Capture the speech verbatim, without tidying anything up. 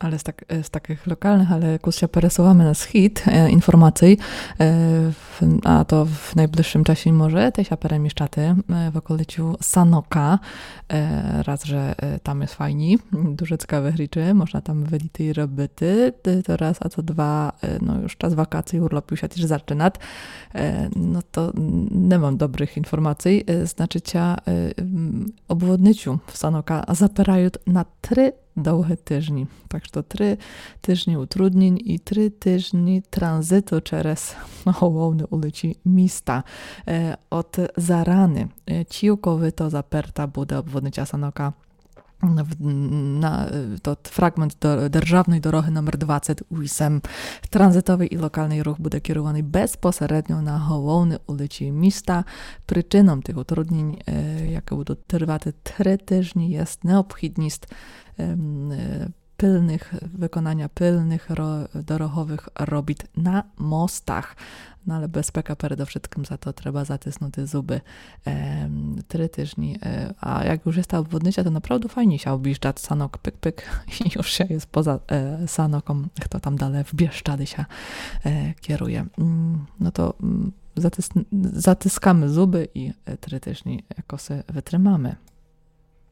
Але з, так, е, з такых локалных, але кус ся пересуваме на схід, е, інформацій, е, в, а то в найближшым часі може тіж ся переміщати, е, в околицю Санока. Е, раз, же, е, там єст файні, дуже цікаві речы, можна там видіти і робити. Е, то раз, а то два, е, но, юж час вакацій, урлоп юж ся тіж зачынат. Е, но то не мам добрых інформацій. Е, значыт ся, е, м, обводницю в Санока заперают на три довгы тыжні. Так што три тыжні утруднін і три тыжні транзиту через головны уличы міста. Е, од зараны, е, цілковито заперта буде обводниця Санока. В, на, е, тот фраґмент до, державной дорогы номер двадцет вісем. Транзитовый і локалный рух буде керуваный безпосередньо на головны уличы міста. Причыном тых утруднін, е, якы будут тырвати три тыжні, єст необхідніст, ем, е, пилных, выконаня пилных ро-, дороговых робіт на мостах. Но але безпека передовшыткым, за то треба затиснути зубы. Ем, три тыжні, е, а як юж єст та обводниця, то направду файні ся обіждат Санок, пык, пык, і юж ся єст поза, е, Саноком, хто там дале в Бієшчады ся, е, керує. М, но то, м, затис-, затискаме зубы і, е, три тыжні якоси вытрымаме.